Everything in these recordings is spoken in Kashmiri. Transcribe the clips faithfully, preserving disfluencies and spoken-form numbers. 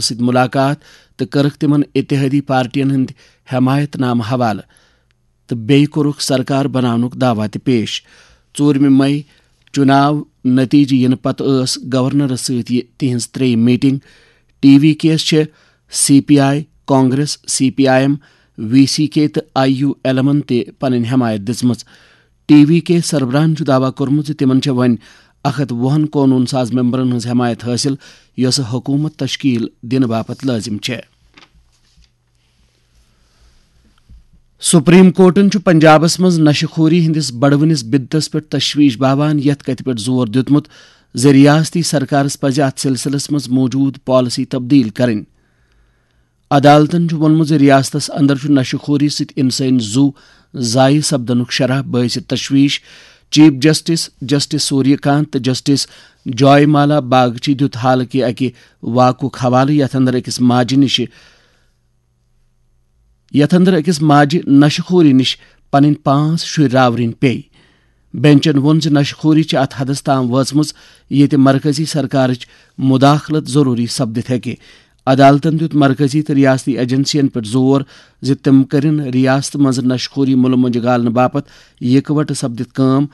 سۭتۍ ملاقات تہٕ کٔرٕکھ تِمن اتحادی پارٹین ہٕنٛدۍ حمایت نامہٕ حوالہٕ تہٕ بیٚیہِ کوٚرُکھ سرکار بناونُک دعویٰ تہِ پیش۔ ژوٗرمہِ مئی چُناو نتیجہٕ یِنہٕ پتہٕ ٲس گورنرس سۭتۍ یہِ تِہنٛز ترٛیٚیِم میٹنگ۔ ٹی وی کیس چھِ C P I, Congress, C P I M, V C K تہٕ آئی یو ایل ایمن تہِ پنٕنۍ حمایت دِژمٕژ۔ ٹی وی کے سربراہن چھُ دعویٰ کوٚرمُت زِ تِمن چھےٚ وۄنۍ اکھ ہتھ وُہن قونوٗن ساز ممبرن ہٕنٛز حمایت حٲصِل، یۄسہٕ حکوٗمت تشکیل دِنہٕ باپتھ لٲزم چھےٚ۔ سپریم کورٹن چھُ پنجابس منٛز نشہٕ خوری ہٕنٛدِس بڑوٕنِس بدتس پٮ۪ٹھ تشویش باوان، یتھ کتھِ پٮ۪ٹھ زور دیُتمُت زِ ریاستی سرکارس پزِ اتھ سلسلس منٛز موجود پالیسی تبدیل کرٕنۍ۔ عدالتن چھُ ووٚنمُت زِ ریاستس اندر چھُ نشہٕ خوری سۭتۍ انسٲنی زُو ضایع سپدنُک شرح باعث تشویش۔ چیف جسٹس جسٹس سوریہ کانت تہٕ جسٹس جوائے مالا باگچی دیُت حالٕکہِ اکہِ واقعُک حوالہٕ، یتھ اندر أکِس ماجہِ نِش یتھ اندر أکِس ماجہِ نشہٕ خوری نِش پنٕنۍ پانٛژھ شُرۍ راورٕنۍ پیٚیہِ۔ بینچن ووٚن زِ نشہٕ خوری چھِ اتھ حدس تام وٲژمٕژ، ییٚتہِ مرکزی سرکارٕچ مداخلت ضروری سپدِتھ ہیٚکہِ۔ عدالتن دیُت مرکزی تہٕ ریاستی ایجنسین پٮ۪ٹھ زور زِ تِم کٔرِن ریاستہٕ منٛز نشہٕ خوری مُلہٕ مۄنجہِ گالنہٕ باپتھ یکوٹہٕ سپدِتھ کٲم۔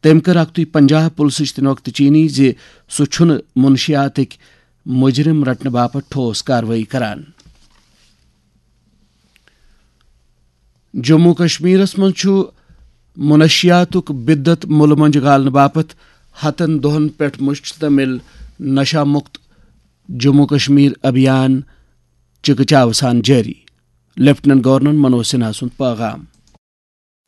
تٔمۍ کٔر اکتُے پنجاب پُلسٕچ تہِ نۄقطہٕ چینی زِ سُہ چھُنہٕ منشیاتٕکۍ مجرم رٹنہٕ باپتھ ٹھوس کاروٲیی کران۔ جموں کشمیرس منٛز چھُ منشیاتُک بدت مُلہٕ مۄنجہِ گالنہٕ باپتھ ہتن دۄہن پٮ۪ٹھ مشتمل نشہ مکت جموں کشمیر ابھیان چکچاو سان جٲری۔ لیفٹیننٹ گورنر منوج سنہا سُنٛد پیغام۔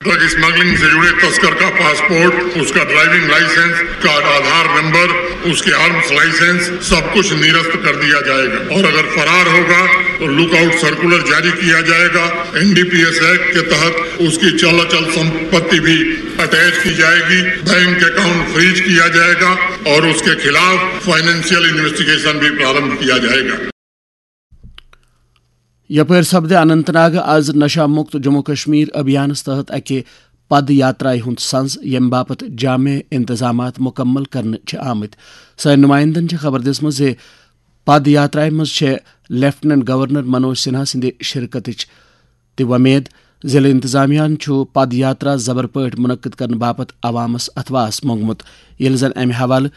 ڈرگ اسمگلنگ سے جڑے تسکر کا پاسپورٹ، اس کا ڈرائیونگ لائسنس، کا آدھار نمبر، اس کے آرمز لائسنس، سب کچھ نرست کر دیا جائے گا، اور اگر فرار ہوگا تو لک آؤٹ سرکولر جاری کیا جائے گا۔ N D P S act کے تحت اس کی چل اچل سمپتی بھی اٹیچ کی جائے گی، بینک اکاؤنٹ فریز کیا جائے گا اور اس کے خلاف فائنینشیل انویسٹیگیشن بھی پرارمبھ کیا جائے گا۔ یپٲرۍ سپدِ اننت ناگ از نشہ مکت جموں کشمیر ابھیانس تحت اکہِ پد یاترایہِ ہُنٛد سنز، ییٚمہِ باپتھ جامع انتظامات مکمل کرنہٕ چھِ آمٕتۍ۔ سٲنۍ نمائندن چھِ خبر دِژمٕژ زِ پد یاترایہِ منٛز چھےٚ لیفٹیننٹ گورنر منوج سنہا سٕنٛدِ شرکتٕچ تہِ وۄمید۔ ضلع انتظامیہ ہن چھُ پد یاترا زبر پٲٹھۍ منعقد کرنہٕ باپتھ عوامس اتھواس مۄنگمُت، ییٚلہِ زن امہِ حوالہٕ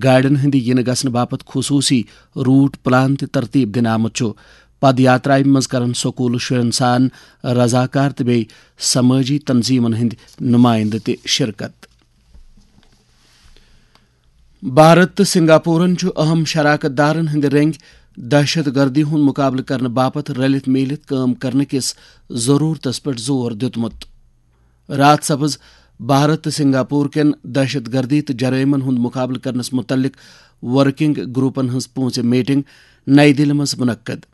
گاڑٮ۪ن ہٕنٛدِ یِنہٕ گژھنہٕ باپتھ خصوٗصی روٹ پلان تہِ ترتیب دِنہٕ آمُت چھُ۔ پد یاترایہِ منٛز کرن سکوٗلہٕ شُرٮ۪ن سان رضاکار تہٕ بیٚیہِ سمٲجی تنظیمن ہٕنٛدۍ نمائندٕ تہِ شرکت۔ بھارت تہٕ سنگاپورن چھُ اہم شراکت دارن ہٕنٛدِ رٔنگۍ دہشت گردی ہُنٛد مقابلہٕ کرنہٕ باپتھ رلِتھ میٖلِتھ کٲم کرنہٕ کِس ضروٗرتس پٮ۪ٹھ زور دیُتمُت۔ راتھ سپٕز بھارت تہٕ سنگاپور کٮ۪ن دہشت گردی تہٕ جرائمن ہُنٛد مقابلہٕ کرنس مُتعلق ورکنگ گروپن ہٕنٛز پوٗنٛژِم میٹنگ نئی دِلہِ منٛز منعقد۔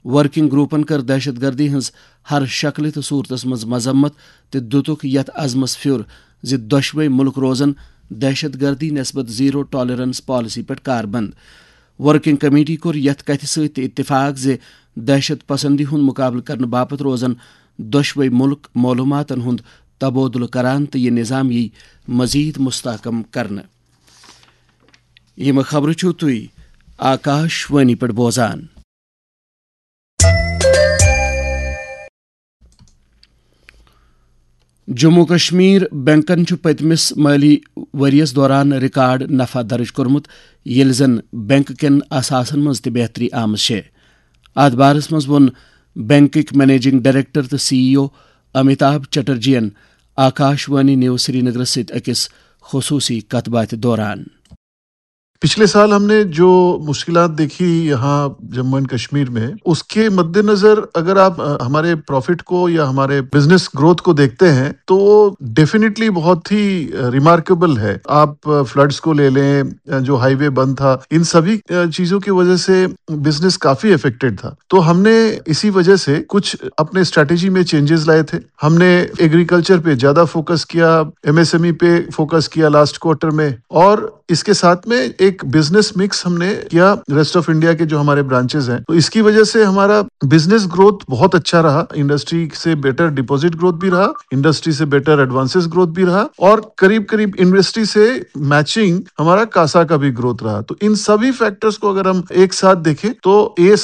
ورکنگ گروپن کٔر دہشت گردی ہٕنٛز ہر شکلہِ تہٕ صورتس منٛز مذمت تہٕ دِتُکھ یتھ عزمس پھیُر زِ دۄشوے مُلک روزن دہشت گردی نسبت زیرو ٹالرنس پالیسی پٮ۪ٹھ کاربند۔ ورکنگ کمیٹی کوٚر یتھ کتھِ سۭتۍ تہِ اتفاق زِ دہشت پسندی ہُنٛد مقابلہٕ کرنہٕ باپتھ روزن دۄشوے مُلک معلوماتن ہُنٛد تبادلہٕ کران تہٕ یہِ نظام یِیہِ مزید مستحکم کرنہٕ۔ یِم خبرٕ چھِو تُہۍ آکاش وانی پٮ۪ٹھ بوزان۔ جموں کشمیر بینکن چھُ پٔتمِس مٲلی ؤریَس دوران ریکارڈ نفع درٕج کوٚرمُت، ییٚلہِ زن بینک کٮ۪ن اثاثن منٛز تہِ بہتری آمٕژ چھےٚ۔ اتھ بارس منٛز ووٚن بینکٕکۍ منیجنگ ڈائریکٹر تہٕ سی ای او امیتابھ چٹرجین آکاش وانی نیوز سرینگرس سۭتۍ أکِس خصوٗصی کتھ باتھِ دوران۔ पिछले साल हमने जो मुश्किलात देखी यहाँ जम्मू एंड कश्मीर में, उसके मद्देनजर अगर आप, अ, हमारे प्रॉफिट को या हमारे बिजनेस ग्रोथ को देखते हैं, तो वो डेफिनेटली बहुत ही, अ, रिमार्केबल है। आप, अ, फ्लड्स को ले लें, अ, जो हाईवे बंद था, इन सभी, अ, चीजों की वजह से बिजनेस काफी अफेक्टेड था। तो हमने इसी वजह से कुछ अपने स्ट्रैटेजी में चेंजेस लाए थे। हमने एग्रीकल्चर पे ज्यादा फोकस किया, एमएसएमई पे फोकस किया लास्ट क्वार्टर में, और इसके साथ में एक बिजनेस मिक्स हमने किया रेस्ट ऑफ इंडिया के जो हमारे ब्रांचेस हैं। तो इसकी वजह से हमारा बिजनेस ग्रोथ बहुत अच्छा रहा, इंडस्ट्री से बेटर डिपॉजिट ग्रोथ भी रहा, इंडस्ट्री से बेटर एडवांसेस ग्रोथ भी रहा, और करीब करीब इंडस्ट्री से मैचिंग हमारा कासा का भी ग्रोथ रहा। तो इन सभी फैक्टर्स को अगर हम एक साथ देखें, तो ये